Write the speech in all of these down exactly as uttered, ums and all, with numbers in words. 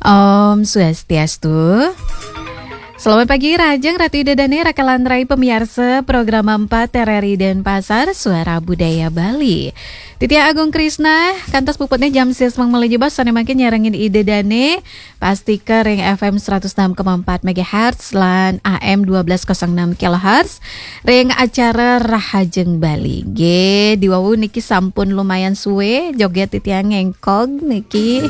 Om Swastiastu. Selamat pagi, Rahajeng Ratu Ida Dane, raka lan rai pamiarsa Program empat R R I Denpasar, Suara Budaya Bali. Titiang Agung Krisna, kantos puputne jam sis mangmele jebos, sane mangkin nyarengin Ida Dane, pastika ring F M seratus enam koma empat megahertz lan A M dua belas kosong enam kilohertz, ring acara Rahajeng Bali. Nggih, diwawu niki sampun lumayan suwe joget titiang ngengkog niki.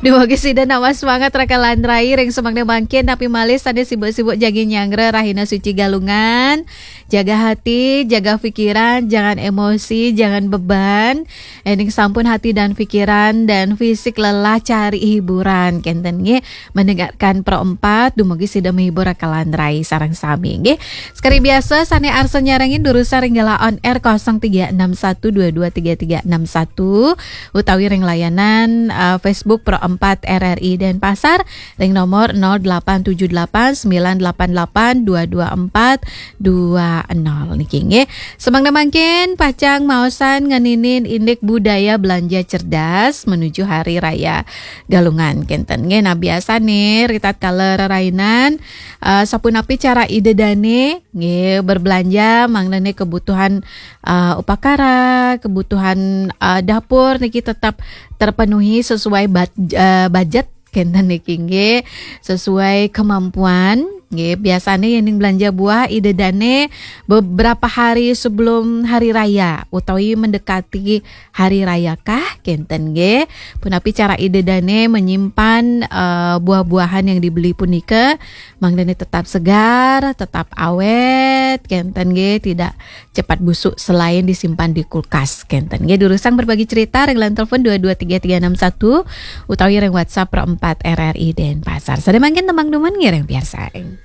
Dumugi sida nambah semangat raka lan rai ring semeng mangkin, napi malih sane sibuk-sibuk jagi nyanggra rahina suci Galungan. Jaga hati, jaga pikiran, jangan emosi, jangan beban. Ening sampun hati dan pikiran dan fisik lelah, cari hiburan, kenten nggih. Mendengarkan Pro empat, dumugi sida menghibur raka lan rai sareng sami nggih. Sekali biasa sane arsa nyarengin durusang ring galah on air kosong tiga enam satu dua dua tiga tiga enam satu utawi ring layanan, eh, Facebook Pro empat R R I Denpasar ring nomor nol delapan tujuh delapan sembilan delapan delapan dua dua empat dua nol niki nggih. Semeng mangkin pacang maosan ngeninin indik budaya belanja cerdas menuju Hari Raya Galungan kenten nggih. Nah, biasane ritatkala rerainan, eh, sapunapi cara Ida Dane nggih berbelanja, mangdane kebutuhan, eh, upakara, kebutuhan, eh, dapur niki tetap terpenuhi sesuai bud-, eh, budget kenten niki nggih, sesuai kemampuan nggih. Biasane yening belanja buah Ida Dane beberapa hari sebelum hari raya utawi mendekati hari raya kah kenten nggih. Punapi cara Ida Dane menyimpan, eh, buah-buahan yang dibeli punika, mangdane tetap segar, tetap awet kenten nggih, tidak cepat busuk selain disimpan di kulkas kenten nggih. Durusang berbagi cerita ring line telepon dua dua tiga tiga enam satu utawi ring WhatsApp Pro empat R R I Denpasar. Sane mangkin tembang dumun ngiring piarsain.